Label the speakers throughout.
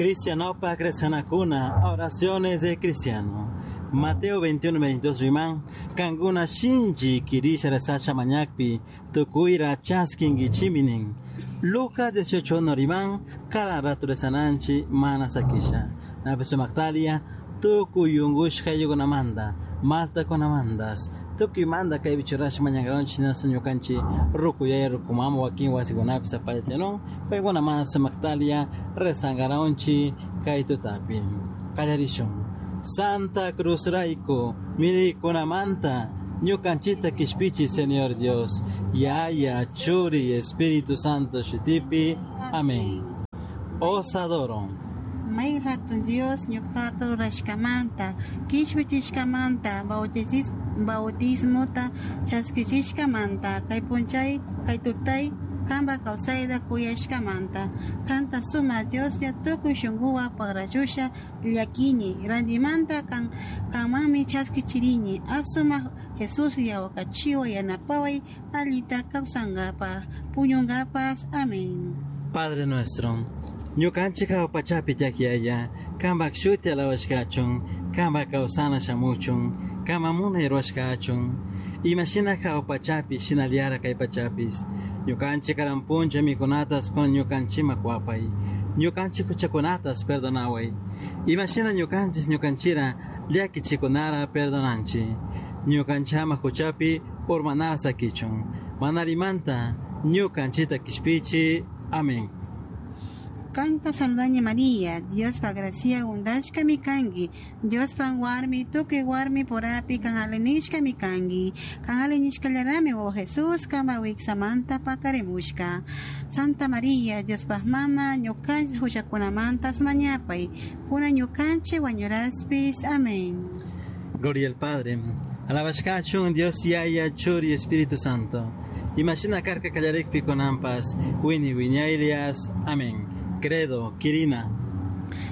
Speaker 1: Cristianopa Cristianakuna, oraciones de cristiano. Mateo 21, 22 riman, Kanguna shinchi kirisha resacha mañakpi, tukuyra chaskingichiminin. Lucas 18 no riman, cada rato rezananchi mana sakisha. Napesu maktalia, tukuy yungushka yugunamanda, malta kunamandas, tukuy manda kay bichurash mañangaronchi nasu ñukanchi rukuyay rukumama wakin wasikunapi sapallatyanun, paykuna mana sumaktalia rezangaronchi kay tutapi. Kallarishun. Santa Cruz rayku, mirikunamanta, ñukanchita kishpichi Señor Dios, Yaya, Churi, Espíritu Santo shutipi. Amén. Os adoro.
Speaker 2: May hatun Dios ñuqata rurashkamanta, kishpichishkamanta, bautismota chaskichishkamanta, kay punchay, kay tutay, kamba kawsayta kuyashkamanta, kanta suma Dios ya tukuy shunquwa pagrachusha llakini, randimanta kan kanmanmi chaskichirini, asuma Jesús yawakachiwa yanapaway allita kawsankapaj, puñunkapas. Amén.
Speaker 1: Padre nuestro, ñukanchik hawa pachapi tiyak kampak shuti alabashkachun, kampak kawsana shamuchun, kama munay ruwashkachun, imashina hawa pachapi shinallara kay pachapis, ñukanchik karan puncha mikunatas kuna ñukanchima kuwapay, ñukanchik huchakunatas perdonaway, imashina ñukanchik ñukanchira llakichikunara perdonanchi, ñukanchama huchapi urmanara sakichun, manarimanta ñukanchita kishpichi. Amén.
Speaker 2: Kanta saludani María, Dios pa gracia undashka mikangi, Dios pan warmi, tukuy warmi porapi kan alinishka mikangi, kan alinishka llarami o Jesús kama wiksamanta pakarimushka. Santa María, Dios pa mama, ñukanchik huchakunamantas mañapay, kuna ñukanchik wañuraspis. Amén.
Speaker 1: Gloria al Padre, alabashkachun Dios Yaya, Churi, Espíritu Santo. Imashina karka kallarikpi kunanpas, wini wiñaylias. Amén. Credo, Kirina.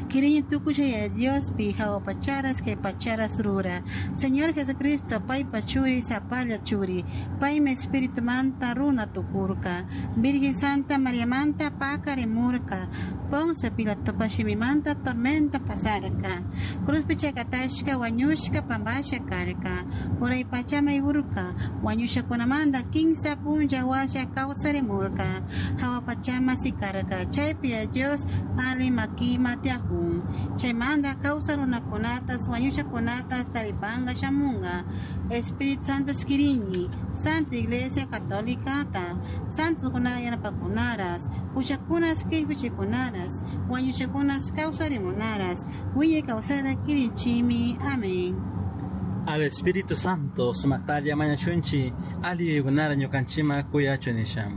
Speaker 2: Kirini tukushaya Dios pi pacharas que pacharas rura. Señor Jesucristo, pai pachuri, sapalla churi. Pai me espíritu manta runa tukurka. Virgen Santa María manta pakarimurka. Ponce Pilato pashimimanta tormenta pasarka. Cruz pichakatashka wañushka pambasha karka. Uray pachama urka. Wañusha kunamanda kinsa punja washa kawsarimurka. Hawa pachama sikarka. Chaypi Dios ali makima tiahun. Chaymanta kawsa runakunatas wañushakunatas taripanga shamunga. Espíritu Santo skirini, Santa Iglesia Católica ta, Santos kuna yanapakunaras, huchakunas kishpichikunaras, wañushakunas kawsarimunaras, wiñay kawsayta kirinchimi. Amén.
Speaker 1: Al Espíritu Santo, sumaktalia mañachunchi, ali yugunara ñukanchima kuyachunisha.